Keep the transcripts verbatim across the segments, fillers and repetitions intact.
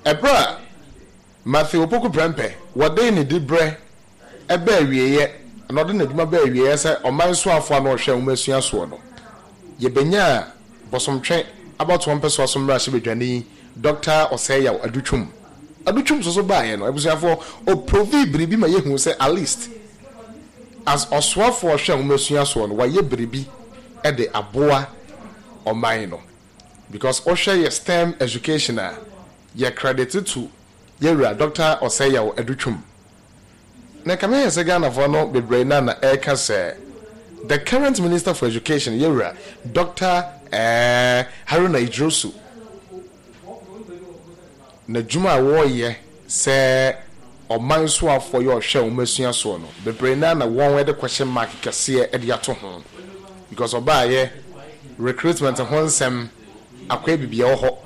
Ɛberɛ a Matthew Opoku Prempeh wɔde ne diberɛ ɛbɛ awieeɛ na ɔde n'adwuma bɛ awieeɛ sɛ ɔman soafoɔ a na ɔhwɛ nwomasua soɔ no, yɛbɛnya Bosomtwe abatoɔ mpɛsoa so mmarahyɛbadwani Doctor Osei Yaw Adutwum. Adutwum nso so baeɛ no, abusuafoɔ, ɔprove biribi ma yɛhu sɛ at least as ɔsoafoɔ ɔhwɛ nwomasua soɔ no, wayɛ biribi de aboa ɔman no, because ɔhwɛ yɛ STEM education a yɛ credit to yɛwura Doctor Osei Yaw Adutwum. Na kame yɛ sɛ Ghanafoɔ no bebree na na ɛreka sɛ the current Minister for Education, yɛwura Doctor eh, Haruna Iddrisu, n'adwuma a wɔreyɛ sɛ ɔman soafoɔ yɛ ɔhwɛ nwomasua soɔ no, bebree na na wɔn de question mark kɛseɛ de ato ho, because ɔbaayɛ recruitment ho nsɛm akɔyɛ biribi wɔ hɔ,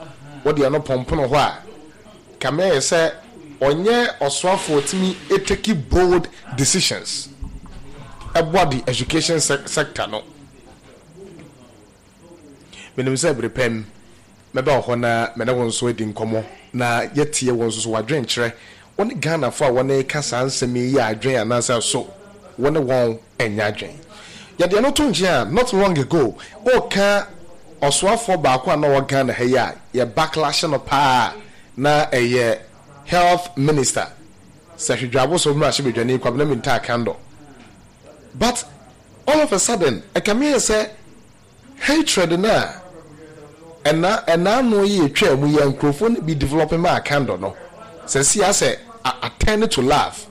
wɔde ɛno pɔmpono hɔ a kame yɛ sɛ ɔnyɛ ɔsoafoɔ tumi take bold decisions ɛboa the education sector no. Menim sɛ bere pɛm mɛba wɔ hɔ na mene wo nso adi nkɔmmɔ na yɛtie wɔn nso so wadwenkyerɛ wɔne Ghanafoɔ a wɔne ka saa nsɛm yi yɛ adwen anaasɛ so wɔne wɔn ɛnyɛ adwen. Yɛde ɛno to nkyɛn a, not long ago ɔka ɔsoafoɔ baako a na ɔwɔ Ghana ha yi a yɛ backlash no paa na ɛyɛ Health Minister Sefwi Juaboso mmarahyɛbadwani Kwabena Mintah Akandoh. But all of a sudden ɛkame yɛ sɛ hatred na ɛna ɛna ano yi etwa mu yɛ nkurɔfoɔ no bi developing ma Akandoh no sɛ si asɛ a turn to love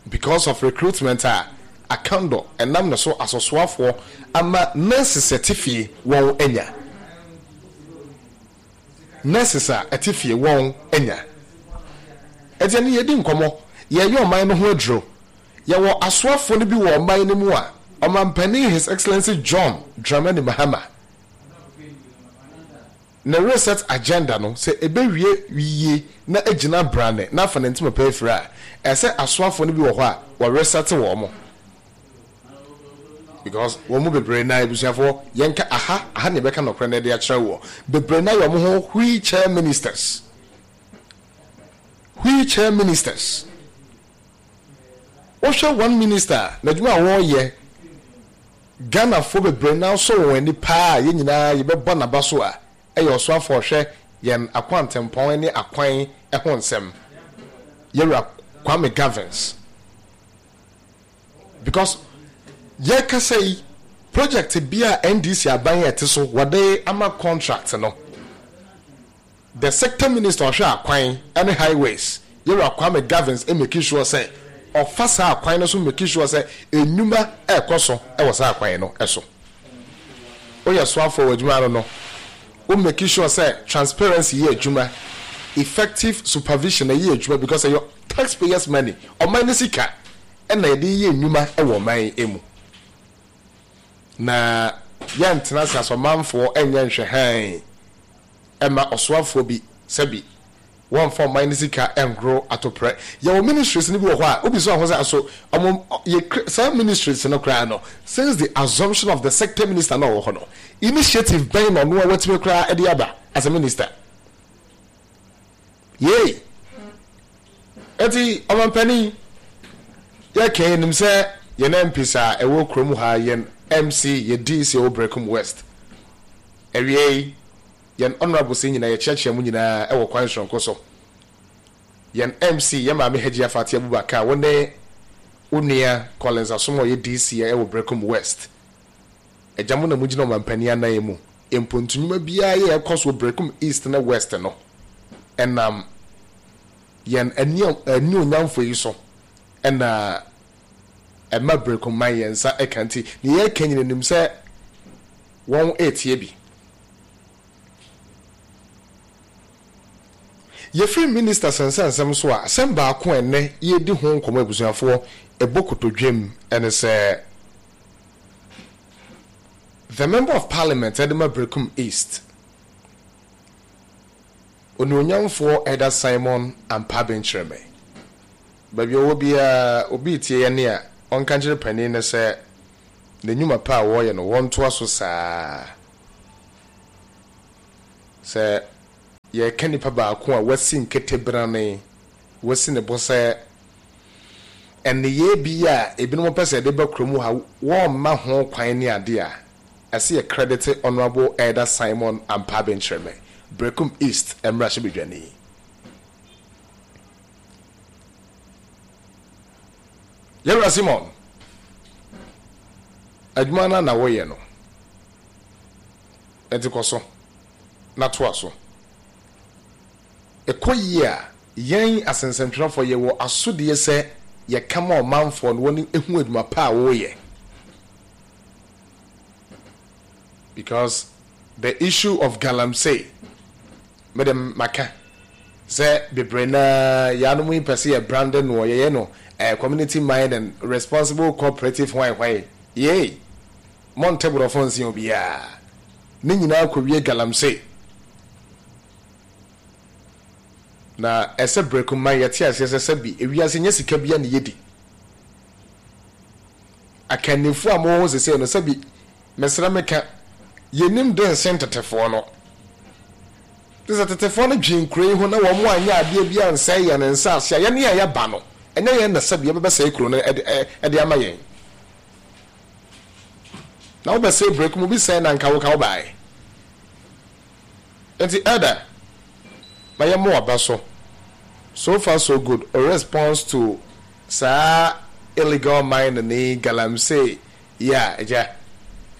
because of recruitment a Akandoh ɛnam ne so asɔsoafoɔ ama nurses ɛte fie wɔn anya, nurses a ɛte fie wɔn anya. Ɛti ɛni yɛdi nkɔmɔ, yɛyɛ ɔman no ho aduro. Yɛwɔ asoafoɔ no bi wɔ ɔman no mu a ɔmampanin His Excellency John Dramani Mahama ne reset agenda no sɛ ɛbɛwie yie na agyina brane na afa ne ntoma pɛ afiri a, ɛsɛ asoafoɔ no bi wɔ hɔ a wɔreset wɔn mo, because wɔn mu bebree na abusuafoɔ yɛnka aha aha na yɛbɛka nɔkorɛ na yɛde akyerɛ wɔ bebree na yɛ wɔn ho wheelchair ministers, wheelchair ministers. Wohwɛ one minister n'adwuma a wɔreyɛ, Ghanafoɔ bebree na asɔ wɔn ani paa, yɛn nyinaa yɛbɛbɔ n'aba so a ɛyɛ ɔsoafoɔ ɔhwɛ yɛn akwantempɔn ne akwan ho nsɛm, yɛwura Kwame Governs, because yɛkasa yi, project bi a N D C aban yɛ te so wɔde ama contract no, the sector minister ɔhwɛ akwan ne highways, yɛwura Kwame Governs, make sure sɛ ɔfa saa akwan no so, make sure sɛ enwuma ɛrekɔ so ɛwɔ saa akwan no ɛso. Woyɛ soafoɔ wɔ adwuma no no wo make sure sɛ transparency yɛ adwuma, effective supervision ɛyɛ adwuma, because ɛyɛ taxpayers' money, ɔman ne sika ɛna yɛde yɛ nnwuma ɛwɔ ɔman emu. Na yɛntena ase asɔmanfoɔ ɛnyɛ nhwɛ hann ɛma ɔsoafoɔ bi sɛbi wɔmfa ɔman ne sika ɛngoro atoprɛ. Yɛwɔ ministries no bi wɔ hɔ a obi so aho sɛ aso ɔmo yɛ saa ministries no koraa no, since the assumption of the sector minister na ɔwɔ hɔ no, initiative bɛn na ɔno a watumi koraa ɛde aba as a minister yei? Eti ɔmampanin, yɛka yɛnim sɛ yɛn M Ps a ɛwɔ kurom ha, yɛn M C, yɛ D C ɛwɔ Berekum West, awie yi yɛn honourable sɛ nyinaa yɛkyerɛkyerɛ mu nyinaa ɛwɔ kwan soronko so. Yɛn M C, yɛn maame Hajia Fati Abubakar, wo ne wo nua Collins Asom a ɔyɛ D C ɛwɔ Berekum West, agya mo na mo gyina ɔmampanin anan mu. Mpontunwuma biara yɛ ɛkɔ so Berekum East ne West no ɛnam yɛn ani ani onyamfo yi so ɛna ɛma Berekum man yɛn nsa ɛka. Nti ne yɛka nyina nim sɛ wɔn ɛretie bi. Yɛfiri minister sɛnsɛnsɛm so a, asɛm baako a ɛnɛ yɛdi ho nkɔmmɔ, abusuafoɔ, ɛbɔ kotodwam ɛne sɛ the Member of Parliament ɛde ma Berekum East, onuonyamfoɔ Elder Simon Ampabe Nkyerɛmɛ, baabi a ɔwɔ biara obi tie yɛn a ɔnka nkyerɛ panin no sɛ n'enyuma pa a wɔreyɛ no wɔntoa so saa sɛ Yɛka nipa baako a wasi nketebrane, wasi ne bo sɛ nneyɛɛ bi a ebinom pɛ sɛ yɛde ba kurom ha, wɔmma ho kwan ne ade a ɛsɛ yɛ credit Honourable Elder Simon Ampabe Nkyerɛmɛ, Berekum East mmarahyɛbadwani. Yɛwura Simon, adwuma no na woyɛ no, ɛnti kɔ so na toa so. Ɛkɔ yie a, yɛn asensɛntwerɛfoɔ yɛwɔ asodeɛ sɛ yɛka ma ɔmanfoɔ no wɔne ehu adwuma pa a wɔreyɛ, because the issue of galamsey, mede maka sɛ bebree naa yɛanom yi pɛ sɛ yɛ brand no, yɛyɛ no eh, community mind and responsible cooperative hwan hwan yei monte borɔfo nsen obiara ne nyinaa kɔwie galamsey. Na ɛsɛ Berekum man yɛte aseɛ sɛ sɛbi ewiase nyɛ sika bia ne yɛdi. Akannifoɔ a mowɔ hɔ sesei no, sɛbi mesrɛ meka, yɛnim de nsen tetefoɔ no. Te sɛ tetefoɔ no dwen kuro yi ho na wɔn anyɛ adeɛ bi ansɛe yɛn nsaase a yɛne a yɛba no, ɛnyɛ yɛn na sɛbi yɛbɛbɛsɛe kuro no ɛde ama yɛn. Na wobɛsɛe Berekum bi sɛe na nka wo ka wo baeɛ. Nti elder, ma yɛmmɔ waba so. So far so good. O response to saa illegal mining ne galamsey yi a agya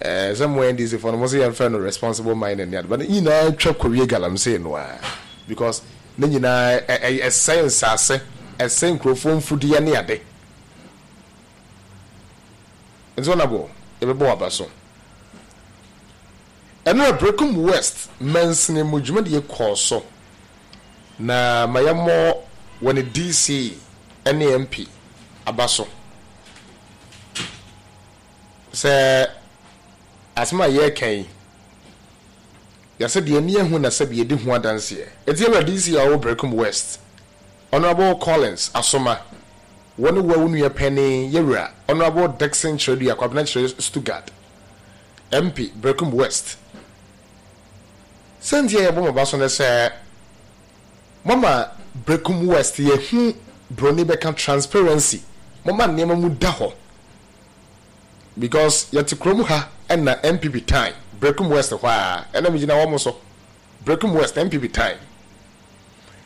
eh, sɛ mo N D C foɔ no mo sɛ yɛmfrɛ no responsible mining ne ade, but ne nyinaa twa kɔwie galamsey no a, because ne nyinaa ɛsɛe nsase, ɛsɛe nkurɔfoɔ mfudeɛ ne ade. Nti ɔnabɔ yɛbɛbɔ waba so. Ɛno Berekum West mansini mu dwumadie kɔɔ so na ma yɛmmɔ wɔ ne D C ne M P aba so sɛ asɛm a yɛreka yi, yɛsɛ deɛ ani ahu na sɛbi yɛdi ho adanseɛ. Ɛti ɛwura D C a ɔwɔ Berekum West, Honourable Collins Asoma, wɔne wo a wo nua panin yɛwura Honourable Dickson Kyerɛdua Kwabena Kyerɛ Stuttgart, M P Berekum West, sɛnti a yɛbɔ mo ba so ne sɛ mama Berekum West yɛhu broni bɛka transparency, mama nneɛma mu da hɔ, because yɛte kurom ha ɛna N P P time Berekum West hɔ a ɛna megyina wɔn so. Berekum West N P P time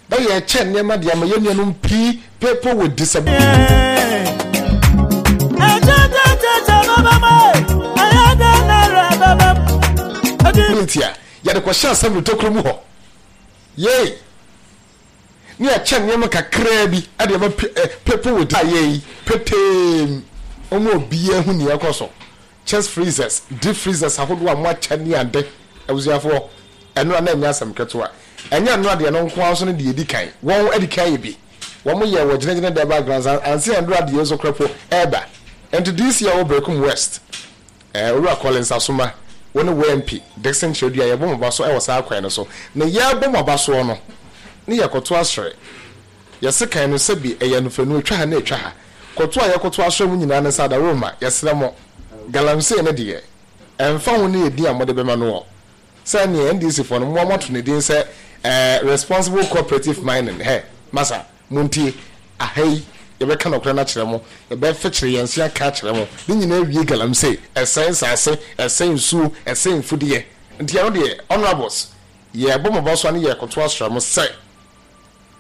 na yɛkyɛ nneɛma de ama yɛn nuanom pii, people with disability. A yɛde kɔhyɛ assembly tokuro mu hɔ yei ne yɛkyɛ nneɛma kakraa bi ɛde ama people with a yei petee wɔn obiara hu nea ɛkɔ so, chest freezers, deep freezers ahodoɔ a mo akyɛ ne ade. Abusuafoɔ, ɛno a na ɛnyɛ asɛm ketewa. Ɛnyɛ ɛno adeɛ no nko ara so no deɛ edi kan, wɔn adi kan yɛ bi, wɔn yɛ wɔ gyinagyina dɛba grounds ansi ɛndoro adeɛ nso korɛ po ɛɛba. Nti D C a wɔ Berekum West, ɛɛ Owura Collins Asoma, wɔne wɔ M P Dickson Kyerɛdua, yɛbɔ mo ba so ɛwɔ saa kwan no so. Na yɛbɔ mo aba soɔ no ne yɛkɔto asrɛ yɛse kan no sɛbi ɛyɛ nofanu atwa ha na atwa ha kɔto a yɛkɔto asrɛ mu nyinaa ne nsa adaroma. Yɛsrɛ mo, galamsey ne deɛ ɛmfa ho ne yɛdin a mode bɛma no wɔ sɛ neɛ N D C foɔ no mo ato ne din sɛ ɛɛ responsible cooperative mining. Hɛ masa, montie aha yi, yɛbɛka nɔkorɛ no akyerɛ mo, yɛbɛfɛkyerɛ yɛn nse aka akyerɛ mo. Ne nyinaa wie galamsey, ɛsɛn nsase, ɛsɛn nsuo, ɛsɛn mfudeɛ. Nti ɛno deɛ, honourables, yɛbɔ mo ba so a ne yɛkoto asrɛ mo sɛ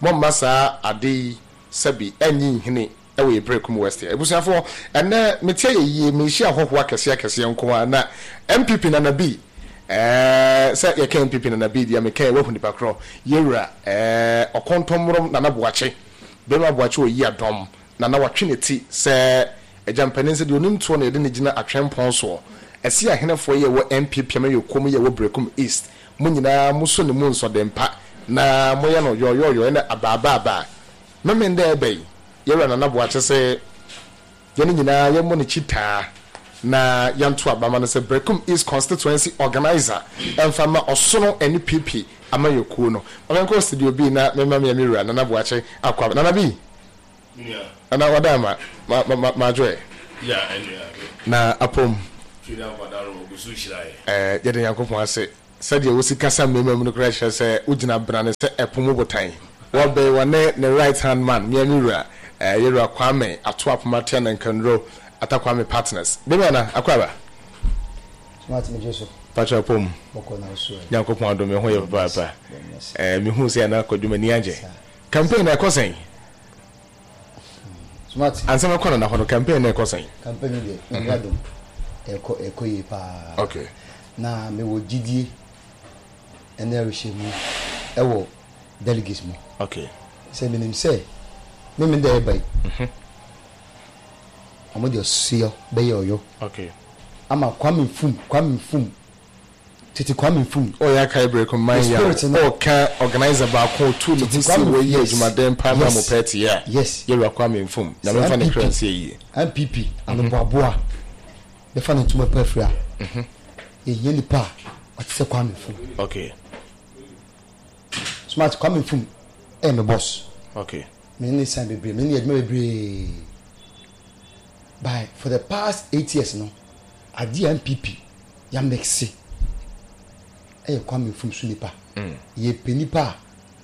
momma saa ade yi sɛbi ɛnyi nhini ɛwɔ yɛ Berekum West. Abusuafoɔ, ɛnɛ metia yɛ yie, mehyia ahɔhoɔ akɛseɛ akɛseɛ nko a na N P P Nana bi ɛɛ sɛ yɛka N P P Nana bi deɛ, meka yɛ wahu nipa korɔ, yɛwura ɛɛ Ɔkɔntɔmmorɔm Nana Boakye, bɛrima Boakye oyi adɔm Nana watwe ne ti sɛ agyampanin sɛ deɛ onim toɔ na yɛde ne gyina atwɛnpɔn soɔ. Ɛsi ahenefoɔ yɛ wɔ N P P amanyɔkuo mu yɛ wɔ Berekum East, mo nyinaa mo so ne mu nsɔdempa na moyɛ no yɔyɔyɔ ɛna abaabaabaa mɛmɛ ndɛ ɛbɛ yi. Yɛwura Nana Boakye sɛ yɛne nyinaa yɛmmɔ ne kyitaa na yɛnto abama no sɛ Berekum East constituency organizer ɛmfa ma Ɔsono N P P amanyɔkuo no. Ɔmɛnkɔ studio bi na mɛma me wura Nana Boakye akɔ. Nana bi, Nana wada ma ma ma ma adwoɛ na apom. Ɛɛ yɛde Nyankopɔn ase. Sɛdeɛ wosi kasa mmarima mu no koraa kyerɛ sɛ wogyina brane sɛ ɛpo mu botan. Wɔbɛn wɔne ne right hand man, Miami wura, eh, Yɛwura Kwame Ato Apoma Tia Nankanduro, Ata Kwame Partners. Bɛmi ana, akɔ aba? Smart, megye so. Patra pom. Bɔkɔ na so. Nyankopɔn adom, me ho yɛ papaapa. Eh, mehu sɛ ana akɔdwuma ni agye. Campaign na ɛkɔ sɛn? Smart. Ansɛm ɛkɔ no na hɔ no, campaign na ɛkɔ sɛn? Campaign deɛ, Nyame adom, ɛkɔ ɛkɔ yie paa. Okay. Na mewɔ gyidie ɛne arehyɛmu ɛwɔ delegates mu. Okay. Sɛ menim sɛ meme da ɛba yi, ɔmo de ɔseɛ bɛyɛ ɔyɔ. Okay. Ama Kwame Nfum, Kwame Nfum, tete Kwame Nfum. Ɔyɛ aka ebere man The ya. spirit no. Ɔka organizer baako otu ne ho Tete si Kwame, wɔyi yes. adwumaden paa ma Yes. mo pɛɛte a. Yes. Yɛwura Kwame Nfum. Nyame mfa ne kra nsie yie. N P P anoboaboa bɛfa ne ntoma pa afiri a, yɛhia nipa a ɔte sɛ Kwame Nfum. Okay. Smart, Kwame Nfum ɛyɛ me boss. Okay. Me ne san bebree, me ne yɛ adwuma bebree. By for the past eight years no, adeɛ a N P P yamɛkse ɛyɛ Kwame Nfum so nipa. Yɛpɛ nipa a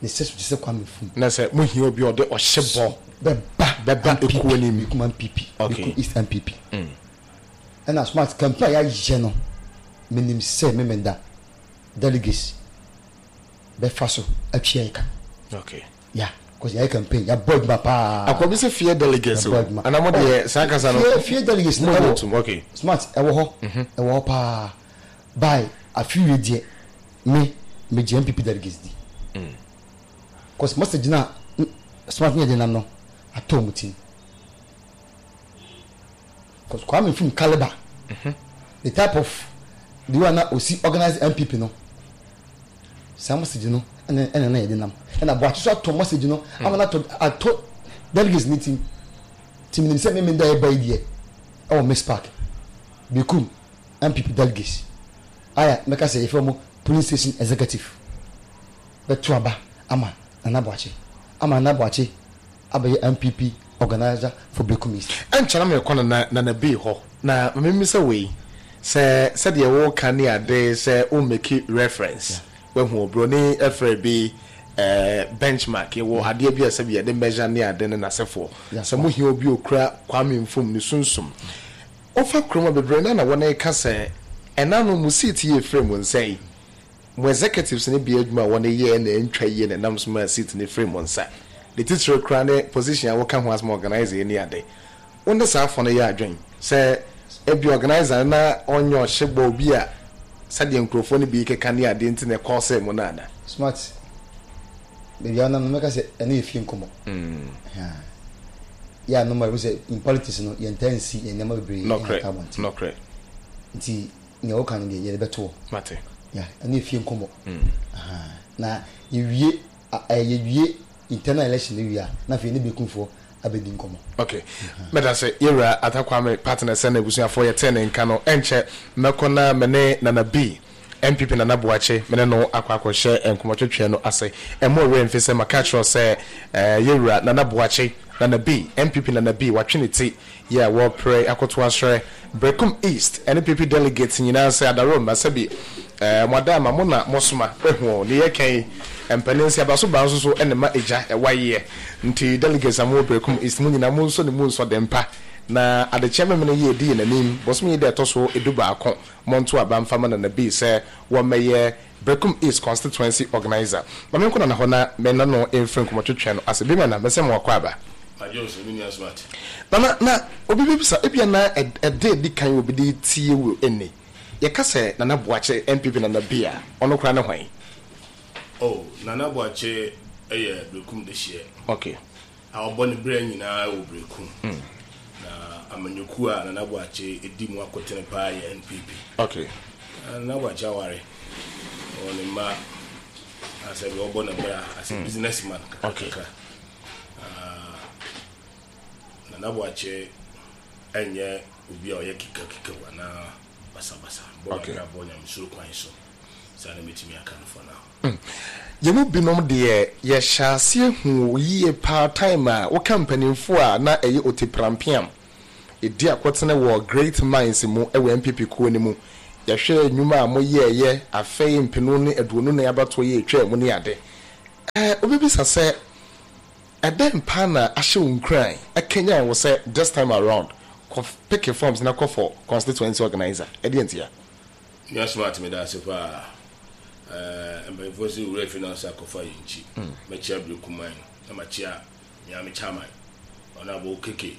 ne sɛ so te sɛ Kwame Nfum. Na sɛ mohia obi a ɔde ɔhyɛ bɔ bɛba bɛba N P P, ekuo no mu. Berekum N P P. Okay. Berekum East N P P. Ɛna smart, campaign a yɛayɛ no, menim sɛ memenda delegates bɛfa so atwia yɛ ka. Okay. Ya, cause yɛayɛ campaign, yɛabɔ adwuma paa. Akɔbi sɛ fear delegates o. Yɛabɔ adwuma. Ana mo deɛ saa kasa no. Fear fear delegates no Mo ɛwɔ tum, okay. Smart, ɛwɔ hɔ, ɛwɔ hɔ paa. By afiwie deɛ, me megye N P P delegates di, cause message na smart ne yɛde nam no atɔ ɔmo tim, cause Kwame Nfum caliber, the type of the way na osi organize N P P no, saa message no ɛna ɛna na yɛde nam, ɛna Buakye so atɔ message no ama na atɔ atɔ delegates ne tim tim. Nim sɛ mímí da ɛba yi deɛ, ɛwɔ Miss Park, Berekum N P P delegates aya mɛka sɛ yɛfrɛ mo polling station executive bɛto aba ama Nana Buakye, ama Nana Buakye abɛyɛ N P P organizer for Berekum East. Ɛnkyɛn na mekɔ nana nana bii hɔ na mímí sɛ wei sɛ sɛdeɛ wɔka ne ade sɛ wo make reference, wahu oburoni ɛfrɛ bi ɛɛ benchmark, yɛwɔ adeɛ bi a sɛbi yɛde measure ne ade ne n'asɛfoɔ. Yeah. Sɛ mohia obi okura Kwame Nfum ne sunsum wofa kurom a bebree na na wɔn ka sɛ ɛna no mo seat yɛ firi mo nsa yi, mo executives ne bi adwuma a wɔn yɛ na ntwa yie na ɛnam so ma seat ne firi mo nsa. Ne titire kura ne position a wɔka ho asɛm, organizer yi ne ade. Wɔn ne saa afɔ no yɛ adwen sɛ ebi organizer na ɔnyɛ ɔhyɛ bɔ obi a sɛdeɛ nkurɔfoɔ no bi keka ne ade nti na ɛkɔɔ sɛ mo no ana? Smart, baabi a ɔnam no, mɛka sɛ ɛno yɛ fie nkɔmmɔ. Yɛ a normal sɛ in politics no, yɛntaa nsi yɛn nneɛma bebree nɔkorɛ ɛnka abɔnten. Nɔkorɛ. Nti nea wɔka no deɛ, yɛde bɛto hɔ. Mate. Ya, ɛno yɛ fie nkɔmmɔ. Aha. Na yɛwie a- ɛ, yɛwie internal election no wie a, na afei ne Berekumfoɔ abɛdi nkɔmmɔ. Okay, mɛda sɛ yɛwura Ata Kwame Partner sɛ na abusuafoɔ yɛtee ne nka no. Ɛnkyɛ mɛkɔ na mene Nana B, N P P Nana Boakye, mene no akɔ akɔhyɛ nkɔmmɔtwetwe no ase. Ɛmo ɔwerɛ mfi sɛ maka kyerɛw sɛ eh, yɛwura Nana Boakye, Nana B, N P P Nana B, watwe ne ti yɛ a wɔpere akoto ahyerɛ Brekum East N P P delegates nyinaa sɛ adaroma sɛbi eh, mo ada ama mo na mosoma ehu ne yɛkɛn mpanin sɛ abaso baa nso so ɛne ma egya ɛwa yɛ. Nti delegates a mo wɔ Brekum East, mo nyinaa mo nso ne mu nsɔ dɛmpa na adekyɛ memene yɛ edi yɛn anim bɔsɔm yi dɛ ɛtɔ so edu baako, monto aba mfa ma Nana B sɛ wɔmmɛyɛ Brekum East constituency organizer. Maame nkɔ Nana hɔ na mɛna no mfiri nkɔmmɔtwetwe no ase bi ma na mɛsɛ mo akɔ aba. Adwo me nua Smart. Nana, na obi bɛbisa ebia na ɛde edi kan obi de tie wo ɛnni yɛka sɛ Nana Boakye, N P P Nana B a, ɔno koraa ne hwan? Oh, Nana Boakye ɛyɛ Berekum dehyeɛ okay a ɔbɔ ne berɛ nyinaa wɔ Berekum. Na amanyɔkuo a Nana Boakye ɛdi mu akotene paa yɛ N P P. okay Na Nana Boakye aware, ɔwɔ ne mma, asɛ bi ɔbɔ ne bra as a businessman Okay. kakrakakra. Ah, Nana Boakye ɛnyɛ obi a ɔyɛ kikakika anaa basabasa bɔ. Okay. N'abrabɔ nyamesuro kwan so, saa na mɛtumi aka no for now. Yɛn mu binom deɛ, yɛhyɛ aseɛ hu yie paa time a woka mpanimfoɔ a na ɛyɛ oteprampeam ɛdi akɔtene wɔ Great Minds mu ɛwɔ N P P kuo no mu. Yɛhwɛ nnwuma a moyɛɛyɛ afei mpenu ne aduonu ne abatoɔ yɛ etwa mu ne ade. Ɛɛ obibisa sɛ ɛdɛn paa na ahyɛ wo nkuran ɛkenyan wo sɛ this time around kɔ pick forms na kɔ for constituency organizer? Ɛdeɛ ntia? Nua Smart, meda ase paa. Ɛɛ mpanyinfoɔ sɛ wura fi na ɔsɛ akɔfa yɛn nkyi. Mɛkyia Brekuman na makyia Miami chairman, Honourable Keke.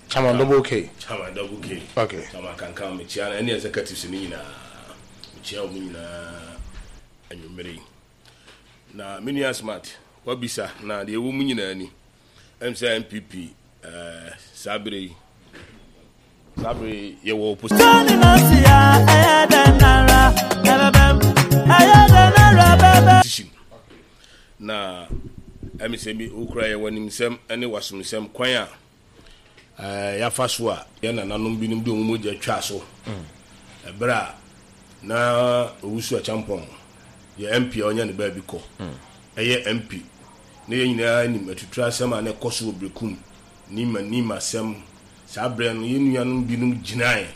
Chairman Double K. Chairman Double K. Okay. Chairman Kankan, mekyia no ɛne executives no nyinaa. Mekyia wɔn nyinaa anwummere yi. Na me nua Smart, wabisa na deɛ ɛwɔ mu nyinaa ni. Ɛm sɛ N P P ɛɛ saa bere yi saa bere yi yɛwɔ opposition. Na ɛmi sɛ bi wokura yɛ w'animsɛm ne w'asomsɛm kwan a ɛɛ yɛafa so a yɛn nananom binom de wɔn mogya twa so ɛberɛ a na Owusu Acheampong yɛ M P a ɔnya ne baabi kɔ ɛyɛ M P na yɛn nyinaa nim atuturu asɛm a na ɛkɔ so wɔ Berekum nima nima asɛm. Saa berɛ no, yɛn nuanom binom gyinae,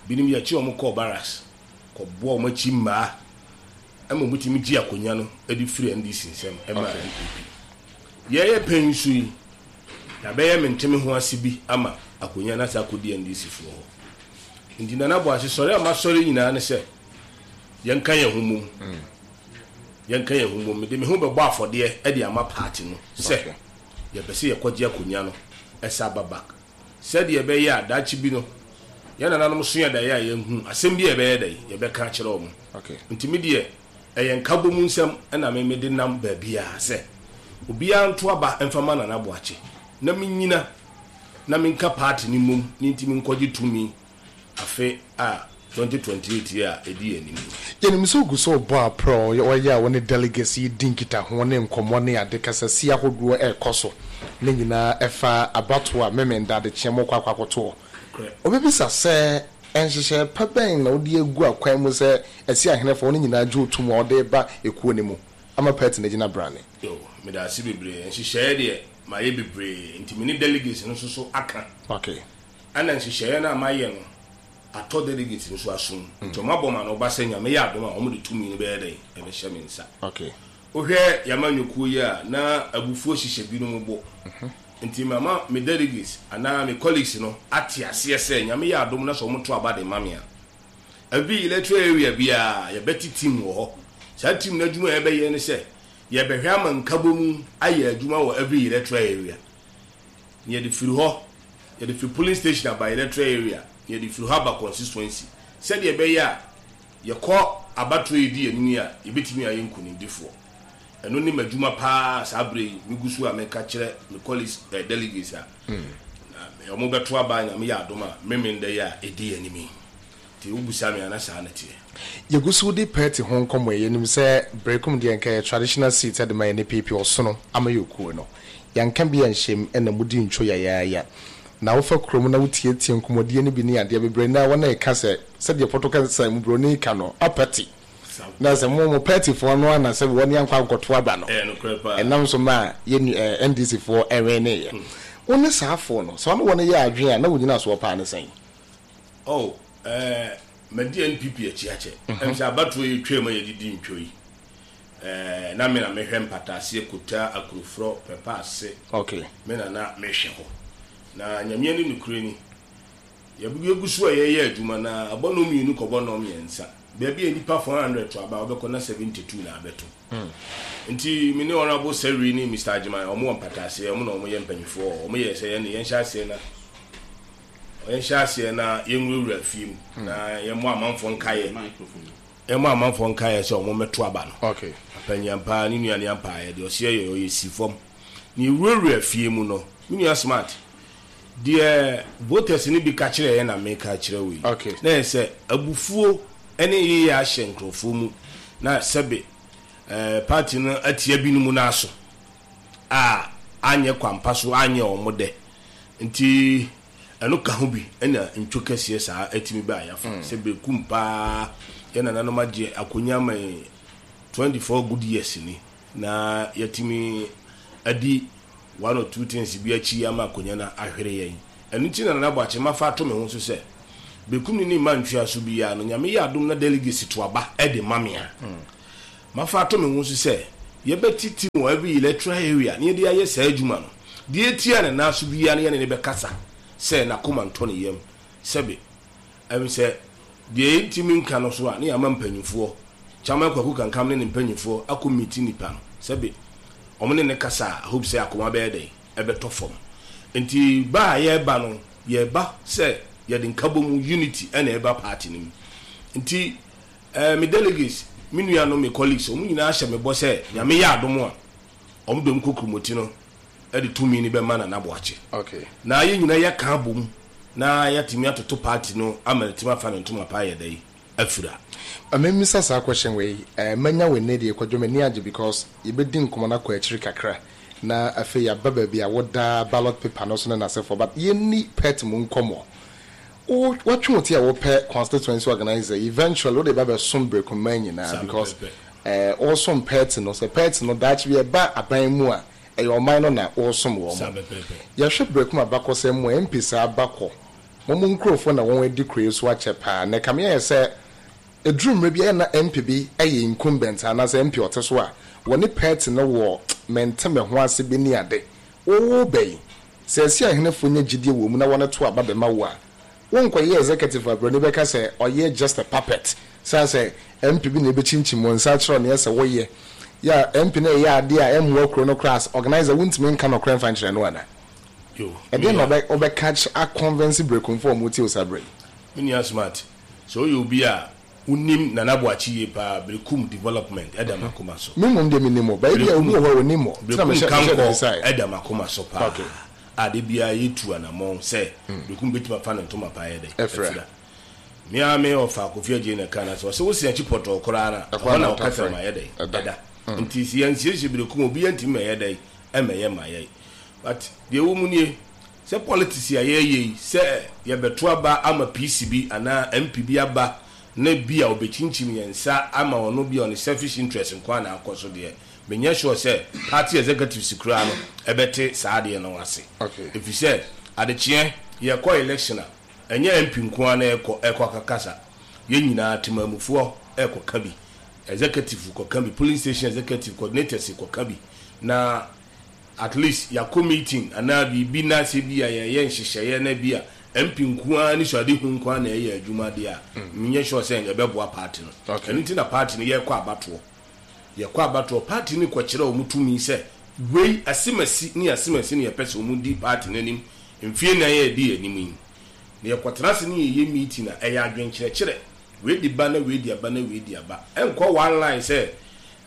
binom yɛkyi wɔn kɔɔ barracks kɔboa wɔn akyi mmaa ɛma wɔn tumi gye akonnwa no de firi N D C nsɛm ɛma N P P. Yɛyɛ pɛn nso yi, yɛabɛyɛ mente ho ase bi ama akonnwa no asa akɔdi N D C foɔ hɔ. Nti Nana Boakye, sɔre a masɔre nyinaa ne sɛ yɛnka yɛn ho mom, yɛnka yɛn ho mom. Mede me ho bɛbɔ afɔdeɛ de ama party no sɛ yɛpɛ sɛ yɛkɔgye akonnwa no ɛsa aba back, sɛdeɛ ɛbɛyɛ a daakye bi no yɛn nananom so yɛ daeɛ a yɛnhu asɛm bi a yɛbɛyɛ dɛ yɛbɛka akyerɛ wɔn. Nti mi deɛ, ɛyɛ nkabom nsɛm ɛna me mede nam baabiara sɛ obiara nto aba mfama Nana Boakye na menyina na menka party ne mom ne nti menkɔgye tumi afe a twenty twenty-eight yi a ɛdi anim. Yɛnim sɛ ogu sɛ ɔbɔ aprɛ ɔyɛ a wɔne delegates yi di nkitaho ne nkɔmmɔ ne ade kasasi ahodoɔ ɛrekɔ so ne nyinaa ɛfa abatoɔ a Memenda adekyeɛ mɔkɔ akɔ akɔtoɔ. Obɛbisa sɛ nhyehyɛ pa bɛn na wode agu akwan mu sɛ ɛsi ahenefoɔ no nyinaa gye otum a wɔde ba ekuo no mu ama party no gyina brane? Yo, meda ase bebree. Nhyehyɛeɛ deɛ, mayɛ bebree, nti me ne delegates no nso so aka. Okay ɛna nhyehyɛeɛ no a mayɛ no atɔ delegates no so asom, nti ɔmo abɔ ma no ɔba sɛ Nyame yɛ adom a, ɔmo de tumi no bɛyɛ dɛn ɛbɛhyɛ me nsa. Okay wohwɛ yɛama nnwokuo yi a na abufuo hyehyɛ binom bo, nti mama me delegates anaa me colleagues no ate aseɛ sɛ Nyame yɛ adom na sɛ ɔmo to aba de ma me a, every electoral area biara yɛbɛte team wɔ hɔ. Saa team no adwuma a yɛbɛyɛ ne sɛ yɛbɛhwɛ ama nkabɔ mu ayɛ adwuma wɔ every electoral area. Na yɛde firi hɔ, yɛde firi polling station aba electoral area, na yɛde firi hɔ aba constituency, sɛdeɛ ɛbɛyɛ a yɛkɔ abatoɔ yi di anim yi a, yɛbɛtumi ayɛ nkonimdifoɔ. Ɛno ne m'adwuma paa saa berɛ yi megu so a meka kyerɛ me colleagues, eh, delegates a na ɔmo bɛto aba, Nyame yɛ adom a, Memenda yi a ɛdi anim yi. Nti wobusa me ana, saa na teɛ. Yɛgu so de party ho nkɔmmɔ yi, yɛnim sɛ Berekum deɛ nka yɛ traditional seat de ma yɛ ne P P ɔsono ama yɛ okuo no yɛnka bi anhyɛm ɛna mudi ntwo yayaaya na wofa kurom na wotietie nkɔmmɔdie no bi ne adeɛ bebree na wɔn a ɛka sɛ sɛdeɛ pɔtɔ kasa mu buroni ka no apɛte na sɛ mo mo partyfoɔ no ana sɛ wɔne ankɔ ankɔto aba no. Ɛyɛ nokorɛ paa. Ɛnam so ma yɛn ɛɛ N D C foɔ ɛwɛn ne yɛ wo ne saafoɔ no sɛ ɔne wɔn yɛ adwene a na wɔnyina soɔ paa ne sɛn? Oh, ɛɛ madi N P P akyi akyɛ. Ɛm sɛ abatoɔ yi twam a yɛdidi ntwo yi, ɛɛ na me na mehwɛ Mpataaseɛ, Kota, Akuroforɔ, Pɛpɛ ase. Okay me na na mehwɛ hɔ na Nyame ne nokorɛ ni, yɛgu so a yɛyɛ adwuma na abɔ no mmienu kɔbɔ no mmiɛnsa, baabi a nipa four hundred to aba, wobɛkɔ na seventy-two na abɛto. Nti me ne Honorable Sɛri ne Mister Agyeman, ɔmo wɔ Mpataaseɛ, ɔmo na ɔmo yɛ mpanyinfoɔ. Ɔmo yɛ sɛ yɛne yɛnhyɛ aseɛ na yɛnhyɛ aseɛ na yɛnwurawura fie mu na yɛmmɔ amanfoɔ nkaeɛ yɛmmɔ amanfoɔ nkaeɛ sɛ ɔmo mmɛto aba no. Okay apanyampa ne nua ne ampaeɛ deɛ ɔseɛ yɛ ɔyɛ si fam na yɛwurawura fie mu no, me nua Smart, deɛ voters no bi ka kyerɛ yɛn na meka kyerɛ wo yi. Okay. Na yɛ sɛ abufuo ne yeyɛ ahyɛ nkurɔfoɔ mu na sɛbe ɛɛ party no atia binom no aso a anyɛ kwampa so anyɛ wɔn dɛ, nti ɛno ka ho bi ɛna ntwo kɛseɛ saa atumi ba ayafa sɛ Berekum paa yɛn nananom agye akonnwa ama yɛn twenty-four good years ni na yɛtumi adi one or two things bi akyi ama akonnwa no ahwere yɛn. Ɛno nti na Nana Boakye mafa ato me ho so sɛ Berekum ne ne mma ntwea so biara no, Nyame yɛ adom na delegates to aba de ma me a, mafa ato me ho so sɛ yɛbɛte team wɔ every electoral area na yɛde ayɛ saa adwuma no. Deɛ ɛtia ne nan so biara no yɛne no bɛkasa sɛ n'akoma ntɔ ne yam. Sɛbe ɛm sɛ deɛ yɛntumi nka no so a, ne yɛama mpanyimfoɔ, Chairman Kwaku Kankam ne ne mpanyimfoɔ akɔ meeti nipa no. Sɛbe wɔn ne no kasa a, I hope sɛ akoma bɛyɛ dɛn? Ɛbɛtɔ fam. Nti ba a yɛreba no, yɛreba sɛ yɛde nkabom, unity, na ɛreba party no mu. Nti eh, me delegates, me nuanom, me colleagues, wɔn nyinaa hyɛ me bɔ sɛ Nyame yɛ adom a, wɔn de wɔn kokuromoti no de tumi no bɛma Nana Boakye. Okay. Na yɛn nyinaa yɛaka abom na yɛatumi atoto party no ama no atumi afa ne ntoma pa ayɛ dɛn? Afira. Ma memmisa saa question wei, eh, manya wo nnɛ deɛ Kwadwo m'ani agye because yɛbɛdi nkɔmmɔ no akɔ akyiri kakra na afei yɛaba baabi a woda ballot paper no so ne n'asefoɔ, but yɛnni pet mu nkɔmmɔ. Wo watwe wo ti a wopɛ constituency organizer, eventually wode ba bɛsom Berekumman nyinaa Saa because pɛpɛɛpɛ. eh, wosom pet no, sɛ pet no daakye bi ɛba aban mu a, ɛyɛ ɔman no na wosom wɔn. Saa pɛpɛɛpɛ. Yɛhwɛ Berekum abakɔsɛm mu a, M P saa bakɔ wɔn mu nkurɔfoɔ na wɔn adi kuro yi so akyɛ paa na ɛkame ayɛ sɛ ɛduru mmerɛ bi ɛyɛ na M P bi ɛyɛ incumbent anaasɛ M P ɔte so a wɔne party no wɔ mente me ho ase bi ne ade wɔwɔ bɛyi sɛ ɛsi ahenefoɔ nya gyidie wɔ mu na wɔne to aba bɛma wo a, wonkɔyɛ executive a buroni bɛka sɛ ɔyɛ just a puppet san sɛ M P bi na ɛbɛkyinkyim wɔn nsa akyerɛ neɛ sɛ wɔyɛ yɛ a M P no ɛyɛ adeɛ a ɛmmoa kuro no koraa as organizer wontumi nka nɔkorɛ mfa nkyerɛ no ana? Yo, ɛdeɛ na me nua, ɔbɛ ɔbɛka kyerɛ aconvince Berekumfoɔ a ɔmo tie wo saa berɛ yi? Me nua Smart, sɛ woyɛ obi a wonim Nana Boakye yie paa, Berekum development ɛda m'akoma so. Me mmom deɛ menim o, baabi a obi wɔ hɔ a onim o tena Berekum mehyɛ mehyɛ kankɔ de bisaeɛ. Ɛda m'akoma so paa. Okay. A de biara yɛtu anammɔn sɛ Berekum bɛtumi afa ne ntoma pa ayɛ dɛ ɛfira. Ɛfira. Me ara me ɔfa Kofi Agye na ka na sɛ ɔsɛ wosi akyi pɔtɔɔ koraa na ɛhɔ ɛhɔ na na ɔtafrɛ ɔkasa ma yɛ dɛ ɛda. Ɛda. Nti sɛ yɛnsiesie Berekum, obi yɛntumi ma yɛ dɛ ɛmɛyɛ ma yɛ, but deɛ ɛwɔ mu nie sɛ politics a yɛyɛ yi sɛ yɛbɛto aba ama P C bi anaa M P bi aba na bi a ɔbɛkyinkyim yɛn nsa ama ɔno bi a ɔne selfish interest nko a na akɔ so deɛ, menyɛ sure sɛ party executives koraa no ɛbɛte saa adeɛ no ase. Okay. Ɛfiri sɛ adekyeɛ yɛkɔ election a, ɛnyɛ M P nko ara na ɛkɔ ɛkɔ akakasa. Yɛn nyinaa temamufoɔ ɛkɔka bi, executive kɔka bi, polling station executive, coordinators kɔka bi, na at least yɛakɔ meeting anaa biribi na sɛ bi a yɛyɛ nhyehyɛeɛ na bi a M P nko ara ne suade hu nko ara na ɛyɛ adwuma deɛ a, menyɛ sure sɛ ɛbɛboa party no. Okay. Ɛno nti na party no yɛkɔ abatoɔ, yɛkɔ abatoɔ, party no kɔkyerɛ wɔn tumi sɛ wei asemasi ne asemasi ne yɛpɛ sɛ wɔn di party no anim mfie nan yɛ di anim yi, na yɛkɔtena ase ne yɛyɛ meeting a ɛyɛ adwenkyerɛkyerɛ, wei di ba na wei di aba na wei di aba, ɛnkɔ one line sɛ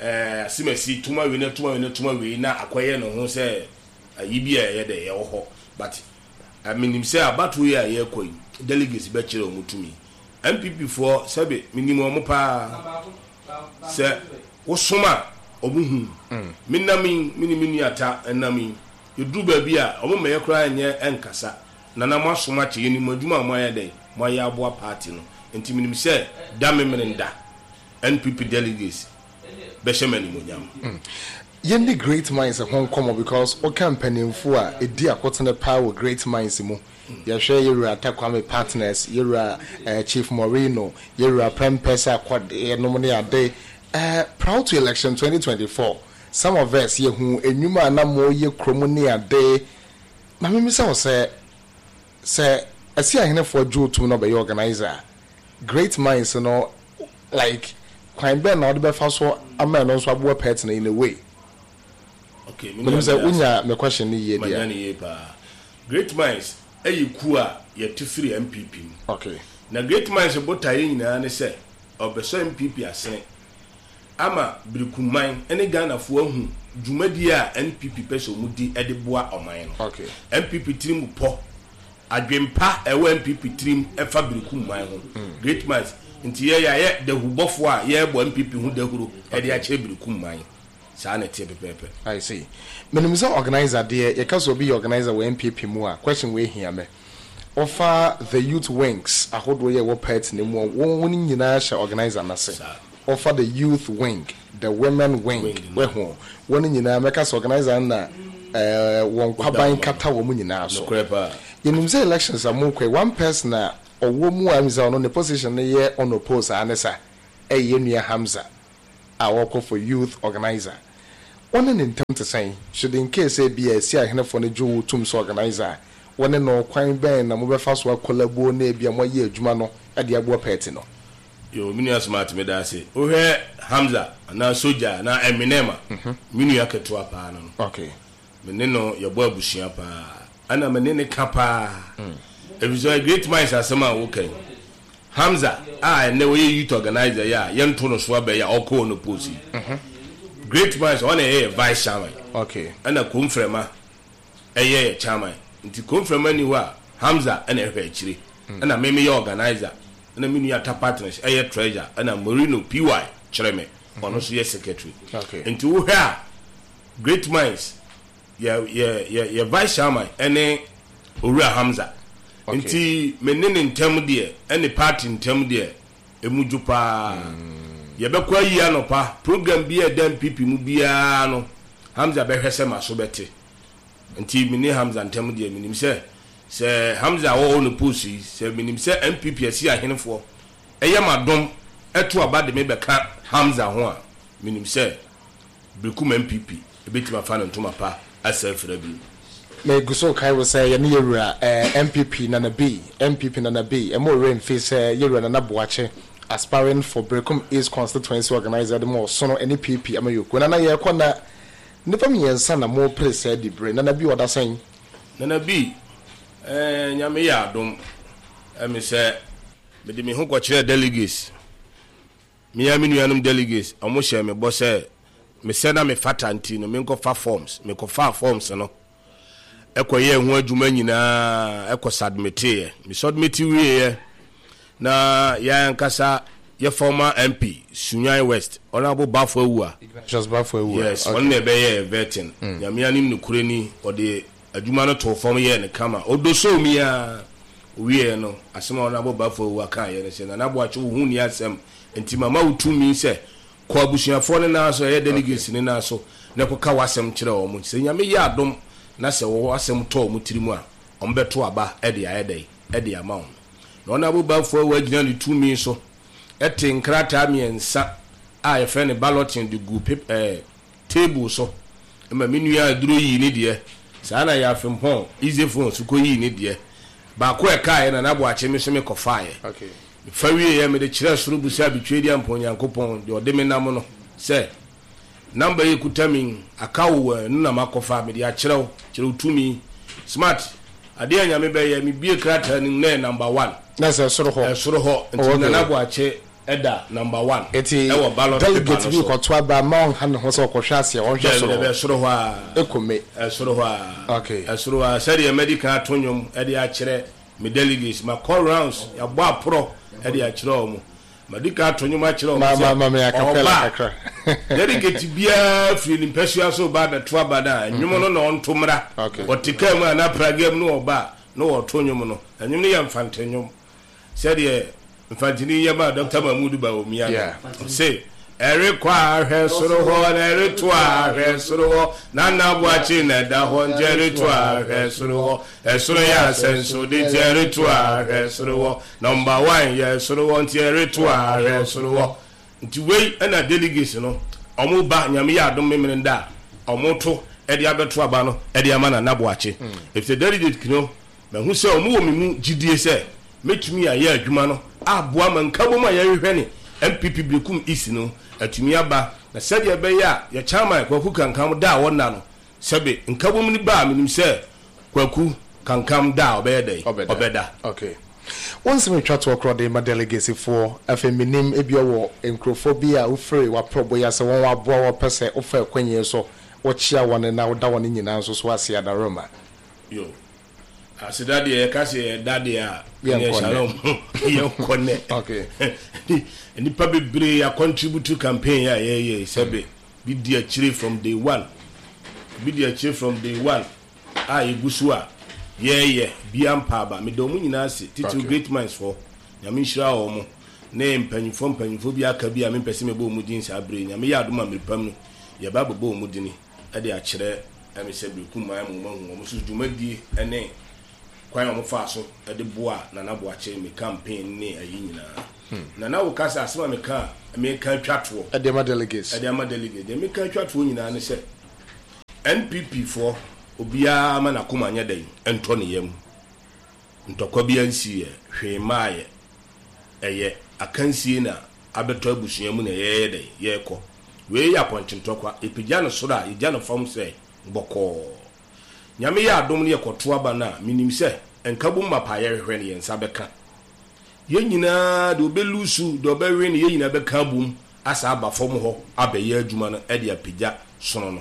ɛɛ asemasi tuma wei na tuma wei na tuma wei na akɔyɛ ne ho sɛ ayi bi a ɛyɛ dɛ ɛwɔ hɔ. But menim sɛ abatoɔ yi a yɛrekɔ yi, delegates bɛkyerɛ wɔn tumi. N P P foɔ, sɛbi, menim wɔn paa sɛ wosom a ɔmo hu me nam yi, me ne me nua ta nam yi, yɛduru baabi a ɔmo mɛyɛ koraa nyɛ ɛnkasa nana mo asom akyɛ yɛnim adwuma a mo ayɛ dɛn mo ayɛ aboa party no. Nti menim sɛ da memene da N P P delegates bɛhyɛ me animonyam. Yɛnni Great Minds ho nkɔmmɔ because woka mpanimfoɔ a ɛdi akotene paa wɔ Great Minds mu, yɛhwɛ yɛwura Atakwame Partners, yɛwura eh, Chief Morino, yɛwura Prɛmpɛ sɛ akɔdeɛ nom ne ade. eh, prior to election twenty twenty-four, some of us yɛhu enwuma a na moyɛ kurom ne ade. Na memisa wo sɛ sɛ ɛsi ahenefoɔ gye otum na ɔbɛyɛ organizer a, Great Minds no, like kwan bɛn na wɔde bɛfa so ama ɛno nso aboa party no in a way? Okay, me menim nua sɛ meda ase. Wonya me question no yie Manya deɛ. ne yie paa. Great Minds ɛyɛ kuo a yɛte firi N P P mu. Okay na Great Minds botaeɛ nyinaa ne sɛ ɔbɛsɔ N P P asene ama Birikuman ne Ghanafoɔ ahu dwumadie a N P P pɛ sɛ ɔmu di de boa ɔman no. Okay N P P tirim pɔ adwempa ɛwɔ N P P tirim ɛfa Birikuman ho. Great Minds nti yɛ yɛayɛ dahubɔfoɔ a yɛrebɔ N P P ho dahuro ɛde akyerɛ Birikuman. Saa na ɛteɛ pɛpɛɛpɛ. I see. Menim sɛ organizer deɛ, yɛka sɛ obi yɛ organizer wɔ N P P mu a, question wei hia me. Ɔfa the youth wings ahodoɔ yɛ ɛwɔ party no mu a, wɔn wɔn nyinaa hyɛ organizer n'ase. Saa. Ɔfa the youth wing, the women wing, Wing no. Wɛho wɔn nyinaa mɛka sɛ organizer no na ɛɛ wɔn kwaban kata wɔn nyinaa so. Nokorɛ paa. Yɛnim sɛ elections a mokɔ yi, one person a Ɔwɔ mu a misa ɔno ne position no yɛ unopposed a ne sa ɛyɛ nua Hamza a wɔkɔ for youth organizer. Wɔne ne ntam te sɛn? Should in case bi a esi ahenefoɔ no gye wo tum sɛ organizer a, wɔne no kwan bɛn na mobɛfa so akɔlabo na ebi a moayɛ adwuma no de aboa party no? Yo, me nua Smart, meda ase. Wohwɛ Hamza anaa Soja anaa Eminem a, me nua ketewa paa no no okay Me ne no yɛbɔ abusua paa, ɛna me ne ne ka paa, ɛfiri sɛ Great Minds asɛm a woka yi, Hamza a ɛnɛ wɔyɛ youth organizer yi a yɛnto no so abɛyɛ a ɔkɔɔ no post yi, Great Minds ɔna ɛyɛ yɛ vice chairman. Okay ɛna Komfrɛma ɛyɛ yɛ chairman, nti Komfrɛma ni hɔ a, Hamza ɛna ɛhwɛ akyire, ɛna me meyɛ organizer, ɛna me nua Ta Partners ɛyɛ treasurer, ɛna Marino P Y kyerɛ me, ɔno nso yɛ secretary. Okay nti wohwɛ a, Great Minds yɛ yɛ yɛ yɛ vice chairman ɛne Owura Hamza. Okay. Nti me ne ne ntɛm deɛ, ɛne party ntɛm deɛ, emu dwo paa. Yɛbɛkɔ ayi anɔpa program bi a ɛda N P P mu biara no, Hamza bɛhwɛ sɛ ma so bɛte. Nti me ne Hamza ntɛm deɛ, menim sɛ sɛ Hamza a wɔwɔ no post yi sɛ menim sɛ N P P asi ahenefoɔ ɛyɛ ma dɔm ɛto aba de me bɛka Hamza ho a, menim sɛ Berekum N P P ebɛtumi afa ne ntoma pa asa afira bi. Megu so kae wo sɛ yɛne yɛwura eh, N P P Nana B, N P P Nana B, ɛma ɔwerɛ mfi sɛ yɛwura Nana Boakye, aspiring for Berekum East constituency organizer de ma ɔsono ne P P amayɔkuo. Nana, yɛrekɔ na nnipa mmiɛnsa na mopere sɛ di bere. Nana B, ɔda sɛn? Nana B, ɛɛ Nyame yɛ adom, ɛmi sɛ mede me ho kɔkyerɛ delegates, mea me nuanom delegates, ɔmo hyɛ me bɔ sɛ mesɛ na mefata, nti no menkɔfa forms. Mekɔfaa forms no, ɛkɔyɛɛ ho adwuma nyinaa, ɛkɔ submiteeɛ. Me submit wieɛ na yɛn ankasa yɛ former M P Sunyani West, Honourable Bafo Awua. Ignatius Bafo Awua. Yes, ɔno na ɛbɛyɛ vetting. Nyame anim nokorɛ ni, ɔde adwuma no too fam yɛɛ ne kama, ɔdɔ so mi a owieɛ no, asɛm a Honourable Bafo Awua kaeɛ no sɛ, "Nana Boakye, wo ho ni asɛm, nti mama wo tumi sɛ kɔ abusuafoɔ no nan so, ɛyɛ delegates ne nan so, na kɔka w'asɛm kyerɛ wɔn. Sɛ Nyame yɛ adom na sɛ wɔwɔ asɛm tɔ wɔn tiri mu a, wɔn bɛto aba ɛde ayɛ dɛ ɛde ama wɔn." Na Honourable Bafo Awua gyina ne tumi so ɛte nkrataa mmiɛnsa a yɛfrɛ no balloting de gu pep ɛɛ table so ma me nua Aduro yii ne deɛ saa, na yɛ afempɔn easy phone so kɔ yii ne deɛ baako a ɛkaeɛ na n'aboakye me so me kɔfaeɛ. Okay fa wieɛ, mede kyerɛ soro busa abitwe di ampɔ Onyankopɔn deɛ ɔde me nam no sɛ number yi kuta mi aka wo wɔ ɛno na makɔfa mede akyerɛw kyerɛw tumi. Smart, adeɛ a Nyame bɛyɛ, mebie krataa no mu na yɛ number one. Na sɛ soro hɔ. Ɛsoro hɔ nti Oh, okay. Nana Boakye ɛda number one eti ɛwɔ ballot paper delegate no bi so. kɔto aba ma ɔnha ne ho sɛ ɔkɔhwɛ aseɛ, ɔnhwɛ soro dɛbi dɛbi hɔ. Ɛsoro hɔ a. Ekome. Ɛsoro hɔ a. Okay. Ɛsoro hɔ a, sɛdeɛ mɛdi kan ato nnwom ɛde akyerɛ me delegates, ma kɔ rounds, yɛabɔ aporɔ ɛde akyerɛ wɔn, madi kan ato nnwom akyerɛ ma wɔn ma ma me acapella ɔba kakra. Delegate biara firi ne mpɛsua so ba abɛto aba no a, nnwom no na ɔnto mmra. Okay. Ɔte kaa mu a na praga mu na ɔba a na wɔto nnwom no. Nnwom no yɛ Mfante nnwom, sɛdeɛ Mfantini yɛ ma Doctor Mahmudu Bawumia Yeah. no, ɔse ɛrekɔ a, hwɛ soro hɔ, na ɛreto a, hwɛ soro hɔ, Nana Boakye na ɛda hɔ, nti ɛreto a, hwɛ soro hɔ, ɛsoro yɛ asɛnsode, nti ɛreto a, hwɛ soro hɔ, number one yɛ soro hɔ, nti ɛreto a, hwɛ soro hɔ. Nti wei ɛna delegates no ɔmo ba, Nyame yɛ adom, memene da a ɔmo to ɛde abɛto aba no ɛde ama Nana Boakye, efisɛ delegate no mahu sɛ ɔmo wɔ me mu gyidie sɛ mɛtumi ayɛ adwuma no aboa ma nkabom a yɛhwehwɛ ne N P P Berekum East no atumi aba, na sɛdeɛ ɛbɛyɛ a yɛ chairman Kwaku Kankam da a wɔnna no, sɛbe nkabom no ba a, menim sɛ Kwaku Kankam da a ɔbɛyɛ dɛn? Ɔbɛda. Ɔbɛda. Okay, wɔn nsɛm atwa toɔ korɔ de ma delegates foɔ. Afei menim ebi wɔ nkurɔfoɔ bi a wofiri waprɔbɔ yi ase, wɔn aboa wɔpɛ sɛ wofa akwanyi so wɔkyia wɔn na woda wɔn nyinaa nso so ase adaroma. Yo, aseda deɛ, yɛka sɛ yɛda deɛ a Yɛnkɔ ɛneɛ nnɛ. Shalom, yɛnkɔ nnɛ. Okay. Nnipa bebree acontribute campaign a yɛyɛ, sɛbe bi di akyire from day one, bi di akyire from day one a yɛgu so a yɛyɛ bia mpa aba. Meda ɔmo nyinaa ase titiri. Okay. Great Minds fɔ, Nyame nhyira wɔ mo ne mpanyinfoɔ mpanyinfoɔ bi aka bi a mempɛ sɛ mebɔ ɔmo din saa bere yi. Nyame yɛ adom a, mmerepam no yɛba abɛbɔ ɔmo dini ɛde akyerɛ ɛmi sɛ Berekum man mu ɔmo ahu ɔmo so dwumadie ɛne Kwan a wɔfaa so de boa Nana Boakye me campaign ne ayi nyinaa. Nana, wo ka sɛ asɛm a meka a meka atwa toɔ ɛde ama delegates. Ɛde ama delegate deɛ, meka atwa toɔ nyinaa ne sɛ N P P foɔ, obiara ma n'akoma nyɛ dɛn ɛntɔ ne yam. Ntɔkwa bi ansi yɛ hwee mmaayɛ, ɛyɛ akansie na abɛtɔ abusua mu na yɛyɛ dɛn yɛrekɔ. Wei yɛ apɔnkye ntɔkwa, yɛpagya no soro a yɛgya no fam sɛ bɔkɔɔ. Nyame yɛ adom no, yɛkɔto aba no a, menim sɛ nkabom mapa a yɛhwehwɛ no, yɛn nsa bɛka. Yɛn nyinaa, deɛ ɔbɛlose, deɛ ɔbɛwe no, yɛn nyinaa bɛka abom asa aba fam hɔ abɛyɛ adwuma no ɛde apagya sono no.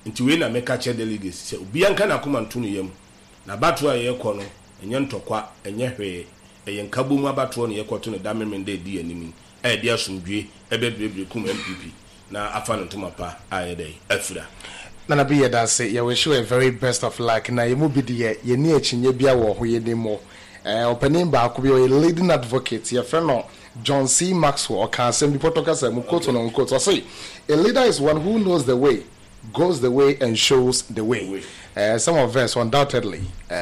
Nti wei na meka kyerɛ delegates sɛ obiara nka n'akoma nto ne yam na abatoɔ a yɛrekɔ no, ɛnyɛ ntɔkwa, ɛnyɛ hwee, ɛyɛ nkabom abatoɔ na yɛkɔto no da memenda ɛdi anim yi a yɛde asomdwe ɛbɛbirebire kum N P P na afa no ntoma pa a yɛdɛ afira. Nana bi, yɛda ase. Yɛwish you a very best of luck. Na yɛmu bi deɛ, yɛni akyinnye bia wɔ hɔ. Yɛni mu ɔpanin baako bi, ɔyɛ leading advocate, yɛfrɛ no John C. Maxwell. Ɔka asɛm bi pɔtɔ kasa mu, quote on unquote, ɔse, "A leader is one who knows the way, goes the way and shows the way." uh, some of us undoubtedly uh,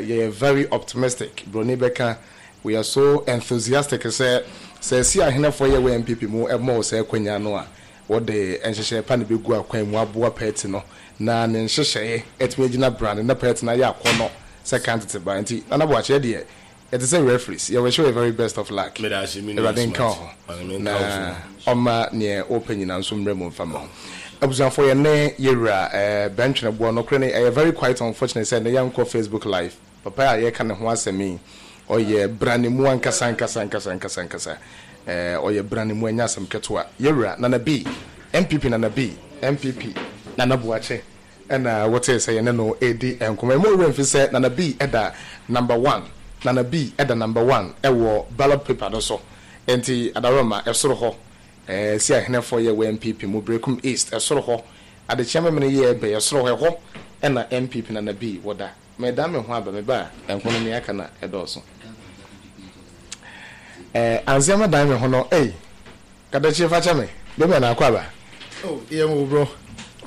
yɛyɛ very optimistic. Broni bɛka, we are so enthusiastic sɛ sɛ si ahenefoɔ yɛ wɔ N P P mu ɛmɔ wo sɛ akwanya no a, wɔde nhyehyɛe pa ne bɛgu akwan mu aboa party no na ne nhyehyɛeɛ ɛtumi agyina brane na party no ayɛ akɔnɔ sɛ kan tete ba. Nti Nana Boakye deɛ, yɛte sɛ referees, yɛwɔ you a very best of luck. Meda ase, me nua. Awurade nka wo ho Smart. na ɔma neɛ wopɛ nyinaa nso mmerɛ mu mfa ma ho. Abusuafoɔ, yɛ ne yɛwura ɛɛ bɛntwene boɔ nokorɛ ne ɛyɛ very quite unfortunate sɛ ne yɛnkɔ Facebook Live. Papa a yɛka ne ho asɛm yi, ɔyɛ brane mu ankasa ankasa ankasa ankasa ankasa. ɛɛ ɔyɛ brane mu, ɛnyɛ asɛm ketewa. Yɛwura Nana B, N P P Nana B, N P P Nana Boakye, ɛna wɔte sɛ yɛne no ɛdi nkɔmɔ. Ɛmu owura mfi sɛ Nana B ɛda number one, Nana B ɛda number one ɛwɔ ballot paper no so. Nti adaroma ɛsoro hɔ ɛɛ si ahenɛfoɔ yɛ wɔ N P P mu Brekum East, ɛsoro hɔ adekyea mɛmɛ yɛ ɛbɛ ɛsoro hɔ, ɛhɔ ɛna N P P Nana B wɔda. Mɛda me ho aba, me ba a ɛnko no nea aka na ɛdɔɔso. ɛɛ anseɛ dan me ho no, ɛy kadakyie, fa kyɛ me bɛbi na akɔ aba. Oh, yɛ mo bro.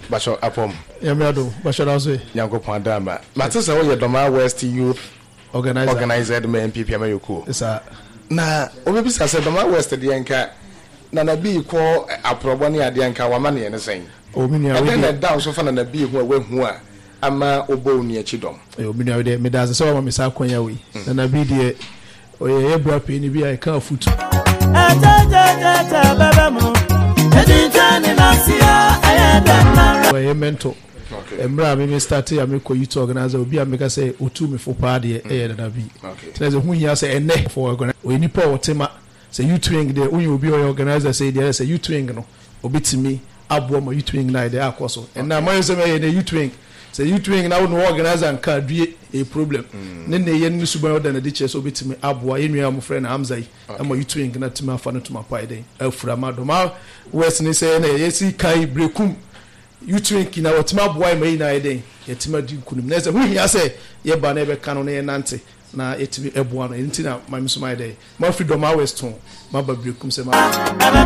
Bahyɛ apɔm. Nyame adom, bahyɛ da so yi. Nyankopɔn adama. Mate sɛ woyɛ Dɔmaa West Youth Organizer. Organizer de ma N P P amayɔkuo. Saa. Na wobɛbisa sɛ Dɔmaa West deɛ, nka Nana Bii kɔ aporɔbɔ ne adeɛ, nka wama neɛ ne sɛn? O, mi nua. Ɛdɛn na wei deɛ ɛda wo so fa Nana Bii ho a woahu a ama wobɔ wo nua akyi dɔm? O, mi nua, wei deɛ, meda ase sɛ wama me saa akwanya wei. Nana bi deɛ, ɔyɛ yɛ bra panyin bi a ɛka afutu. Ɛtɛtɛtɛtɛ bɛbɛ mu ɛtwintwɛn ne nasia ɛyɛ dɛ nara. Ɔyɛ mentor. Okay. Mmerɛ a meme start a mekɔ youth organizer, obi a meka sɛ ɔtu me fo paa deɛ, ɛyɛ Nana bi. Okay. Tena sɛ ho hia sɛ ɛnɛ for organizer, ɔyɛ nipa a ɔte ma sɛ youth wing deɛ, wonyɛ obi a ɔyɛ organizer sɛ deɛ, sɛ youth wing no, obɛtumi aboa ma youth wing no ayɛ dɛ akɔ so. Ɛnna amayɛ sɛ mɛyɛ ne youth wing, sɛ youth wing na wo ne organizer nka adue, ɛyɛ problem. Ne ne yɛ ne suban ɔda n'adi kyerɛ sɛ obɛtumi aboa yɛn nua a wɔfrɛ no Hamza yi ama youth wing na tumi afa no tuma pa yɛ dɛn afura ma Dɔma West ne sɛ ɛna yɛsi kan Brekum youth wing na wɔtumi aboa yɛn ma yɛn nyinaa yɛ dɛn yɛtumi adi nkunim. Na sɛ ho hia sɛ yɛba na yɛbɛka no na yɛnante na yɛtumi ɛboa no, ɛno nti na maame nso mayɛ dɛn mafiri Dɔma West ho maba Brekum sɛ ma Ɛbɛ